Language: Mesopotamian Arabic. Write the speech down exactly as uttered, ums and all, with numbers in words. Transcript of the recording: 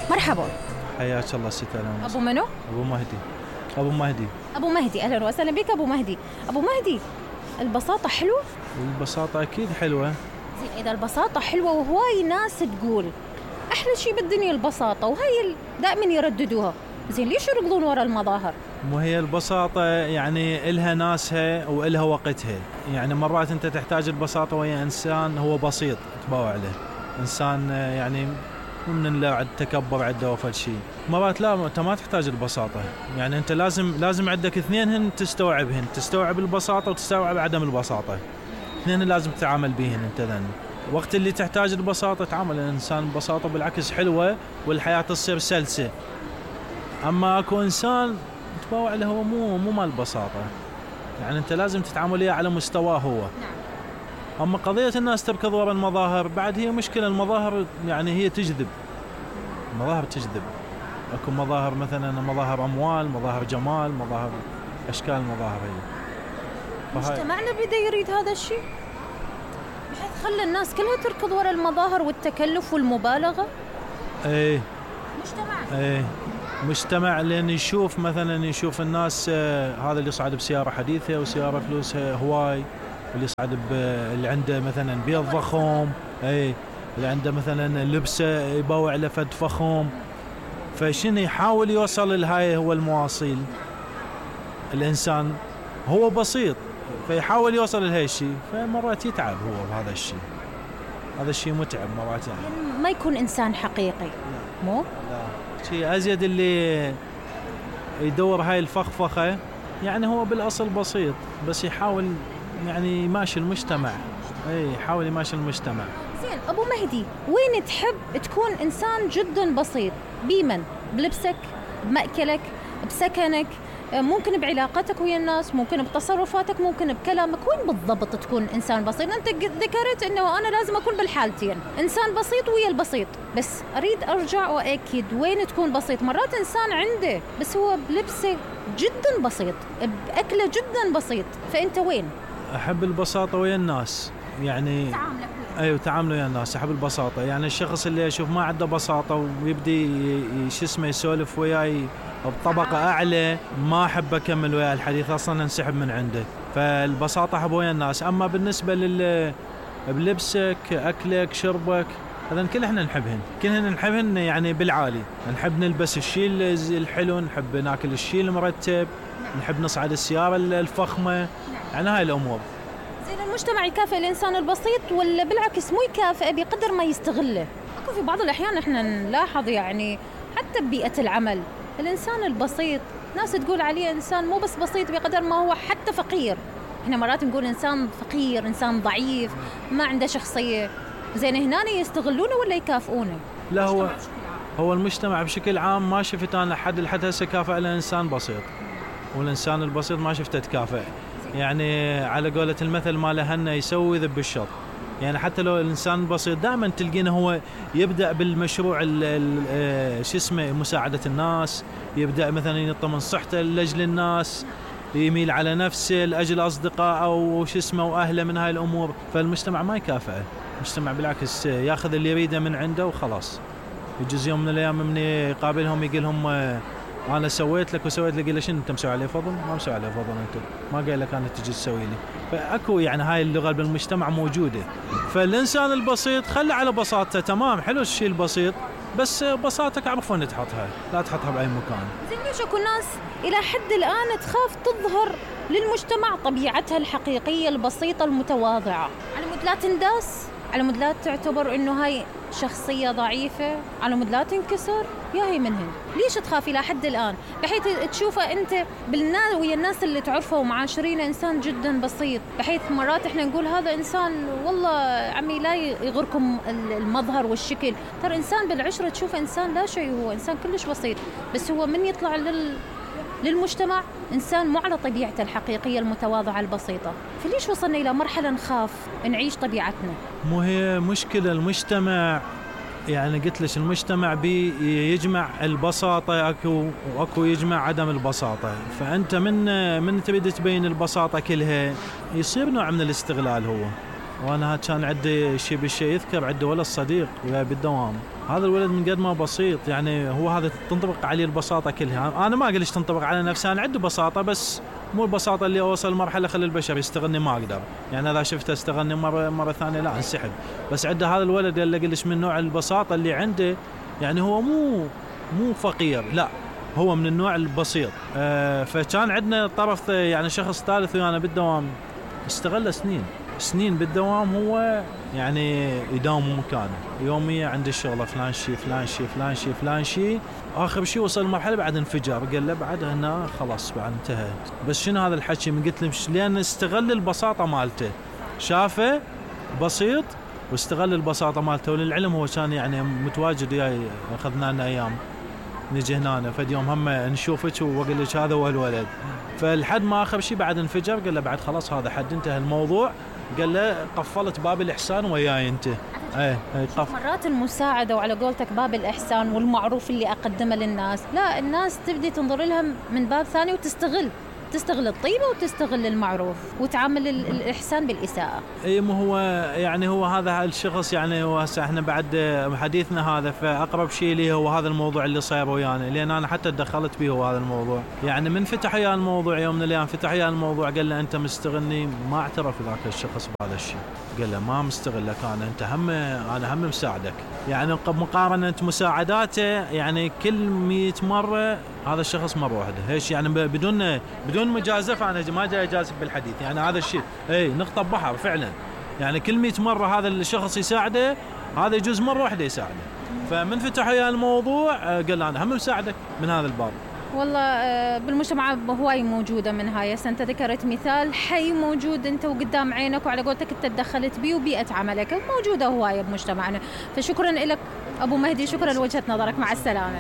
مرحبا. حياك الله ست ألماس. أبو منو؟ أبو مهدي. أبو مهدي. أبو مهدي، أهلا وسهلا بك أبو مهدي. أبو مهدي، البساطة حلوة؟ البساطة أكيد حلوة. زين، إذا البساطة حلوة وهواي ناس تقول أحلى شيء بالدنيا البساطة وهي دائما يرددوها، زين ليش يركضون وراء المظاهر؟ مو هي البساطة يعني إلها ناسها وإلها وقتها، يعني مرات أنت تحتاج البساطة ويا إنسان هو بسيط تباوع له، إنسان يعني من اللي التكبر عنده وفل شيء. مرات لا، أنت ما تحتاج البساطة، يعني أنت لازم لازم عندك اثنينهن تستوعبهن، تستوعب البساطة وتستوعب عدم البساطة، اثنين لازم تتعامل بيهن أنت ذن. وقت اللي تحتاج البساطة تعامل الإنسان ببساطة بالعكس حلوة والحياة تصير سلسة. أما أكو إنسان تباوع له هو مو مو مال بساطة، يعني أنت لازم تتعامل إياه على مستواه هو. أما قضية الناس تركض وراء المظاهر بعد هي مشكلة. المظاهر يعني هي تجذب، المظاهر تجذب. أكو مظاهر مثلا مظاهر أموال، مظاهر جمال، مظاهر أشكال المظاهر هي. مجتمعنا بدأ يريد هذا الشيء بحيث خلى الناس كلها تركض وراء المظاهر والتكلف والمبالغة. ايه مجتمع ايه مجتمع لأن يشوف مثلا يشوف الناس آه هذا اللي يصعد بسيارة حديثة وسيارة فلوسها هواي، واللي يصعد اللي عنده مثلا بيض ضخم، ايه اللي عنده مثلا لبسه يباوع له فد فخم، فشنو يحاول يوصل لهاي هو المواصيل. الإنسان هو بسيط فيحاول يوصل لهاي الشيء، فمرات يتعب هو بهذا الشيء. هذا الشيء متعب مرات، يعني ما يكون إنسان حقيقي. مو لا شيء أزيد اللي يدور هاي الفخفخة، يعني هو بالأصل بسيط بس يحاول يعني يماشي المجتمع. اي يحاول يماشي المجتمع. زين أبو مهدي، وين تحب تكون إنسان جدا بسيط؟ بيمن؟ بلبسك؟ بمأكلك؟ بسكنك؟ ممكن بعلاقتك ويا الناس، ممكن بتصرفاتك، ممكن بكلامك. وين بالضبط تكون إنسان بسيط؟ أنت ذكرت أنه أنا لازم أكون بالحالتين، إنسان بسيط ويا البسيط، بس أريد أرجع وأكد وين تكون بسيط. مرات إنسان عنده بس هو بلبسه جدا بسيط، بأكله جدا بسيط، فأنت وين؟ أحب البساطة ويا الناس، يعني تعاملك أيوة تعامله ويا الناس. أحب البساطة، يعني الشخص اللي أشوف ما عنده بساطة ويبدي شو اسمه يسولف وياي بطبقة أعلى ما أحب أكمل وياه الحديث، أصلاً أنسحب من عنده. فالبساطة أحب ويا الناس. أما بالنسبة لل بلبسك أكلك شربك هذا كل إحنا نحبهن، كلنا نحبهن يعني بالعالي. نحب نلبس الشيء الحلو، نحب ناكل الشيء المرتب، نحب نصعد السيارة الفخمة، يعني هاي الأمور. زين المجتمع يكافئ الإنسان البسيط ولا بالعكس مو يكافئه بقدر ما يستغله؟ أكو في بعض الأحيان إحنا نلاحظ يعني حتى ببيئة العمل الإنسان البسيط ناس تقول عليه إنسان مو بس بسيط بقدر ما هو حتى فقير. إحنا مرات نقول إنسان فقير، إنسان ضعيف، ما عنده شخصية. زين هنا يستغلونه ولا يكافئونه؟ لا هو هو المجتمع بشكل عام ما شفت أنا حد لحد هسه كافئ الإنسان بسيط، والإنسان البسيط ما شفته تكافئ. يعني على قولة المثل ما لهنا يسوي ذب الشط. يعني حتى لو الإنسان البسيط دائما تلقينه هو يبدأ بالمشروع شو اسمه مساعدة الناس، يبدأ مثلا ينطى من صحته لأجل الناس، يميل على نفسه لأجل أصدقاء أو شو اسمه وأهله من هاي الأمور. فالمجتمع ما يكافئه، المجتمع بالعكس ياخذ اللي يريده من عنده وخلاص. يجوز يوم من الأيام من يقابلهم يقول لهم أنا سويت لك وسويت لك، إلا شنو أنت مسوي عليه فضل؟ ما مسوي عليه فضل، أنت ما قايل لك أنا تجي تسوي لي. فأكو يعني هاي اللغة بالمجتمع موجودة. فالإنسان البسيط خلي على بساطته، تمام حلو الشيء البسيط، بس بساطتك عرف وين تحطها، لا تحطها بأي مكان. زين ليش أكو ناس إلى حد الآن تخاف تظهر للمجتمع طبيعتها الحقيقية البسيطة المتواضعة، على مود لا تنداس، على مود لا تعتبر إنه هاي شخصية ضعيفة، على مود لا تنكسر؟ يا هي منهن ليش تخاف إلى حد الآن بحيث تشوفه أنت بالناس ويا الناس اللي تعرفه ومعاشرين إنسان جدا بسيط، بحيث مرات إحنا نقول هذا إنسان والله عمي لا يغركم المظهر والشكل، ترى إنسان بالعشرة تشوف إنسان لا شيء، هو إنسان كلش بسيط، بس هو من يطلع لل للمجتمع إنسان مو على طبيعته الحقيقية المتواضعة البسيطة. فليش وصلنا إلى مرحلة نخاف نعيش طبيعتنا؟ مو هي مشكلة المجتمع، يعني قلت لك المجتمع بي يجمع البساطة أكو وأكو يجمع عدم البساطة. فأنت من من تريد تبين البساطة كلها يصير نوع من الاستغلال. هو وانا كان عندي شيء بالشيء يذكر، عندي ولد صديق وياي بالدوام، هذا الولد من قد ما بسيط يعني هو هذا تنطبق عليه البساطه كلها. انا ما اقول ليش تنطبق على نفسي، انا عندي بساطه بس مو البساطه اللي اوصل مرحله خلي البشر يستغلني ما اقدر، يعني اذا شفته استغلني مره مره ثانيه لا انسحب. بس عنده هذا الولد اللي قلش من نوع البساطه اللي عنده، يعني هو مو مو فقير لا، هو من النوع البسيط. أه فكان عندنا طرف يعني شخص ثالث ويانا بالدوام استغل سنين سنين بالدوام، هو يعني يداوم مكانه يوميا عند الشغله فلان شيء فلان شيء فلان شيء فلان شيء، اخر شيء وصل مرحله بعد انفجر، قال له بعد هنا خلاص بعد انتهى. بس شنو هذا الحكي؟ من قلت له لان استغل البساطه مالته، شافه بسيط واستغل البساطه مالته. وللعلم هو كان يعني متواجد وياي، اخذنا لنا ايام نجي هنا فد يوم هم نشوفك واقول لك هذا هو الولد. فالحد ما اخر شيء بعد انفجر، قال له بعد خلاص هذا حد انتهى الموضوع، قال له قفلت باب الاحسان وياي انت. ايه قف. مرات المساعده وعلى قولتك باب الاحسان والمعروف اللي اقدمه للناس، لا الناس تبدي تنظر لها من باب ثاني وتستغل تستغل الطيبه وتستغل المعروف وتعامل الاحسان بالاساءه. اي مو هو يعني هو هذا الشخص، يعني هو هسه احنا بعد حديثنا هذا فاقرب شيء لي هو هذا الموضوع اللي صاير ويانا، لان انا حتى تدخلت به هو هذا الموضوع. يعني من فتح ويا الموضوع يوم من الايام فتح ويا الموضوع، قال له انت مستغلني، ما اعترف ذاك الشخص بهذا الشيء، قال له ما مستغلك انا، انت هم انا هم مساعدك. يعني مقارنه مساعداته يعني كل مئة مره هذا الشخص مره واحده، ايش يعني بدون بدون مجازفه، انا ما جاي اجازف بالحديث، يعني هذا الشيء اي نقطه بحر فعلا. يعني كل مئة مره هذا الشخص يساعده، هذا يجوز مره واحده يساعده. فمن فتح ويا الموضوع قال انا هم مساعدك من هذا الباب. والله بالمجتمع هواي موجوده من هاي، انت ذكرت مثال حي موجود انت وقدام عينك، وعلى قولتك انت تدخلت به وبيئه عملك موجوده هواي بمجتمعنا. فشكرا لك ابو مهدي، شكرا لوجهه نظرك، مع السلامه.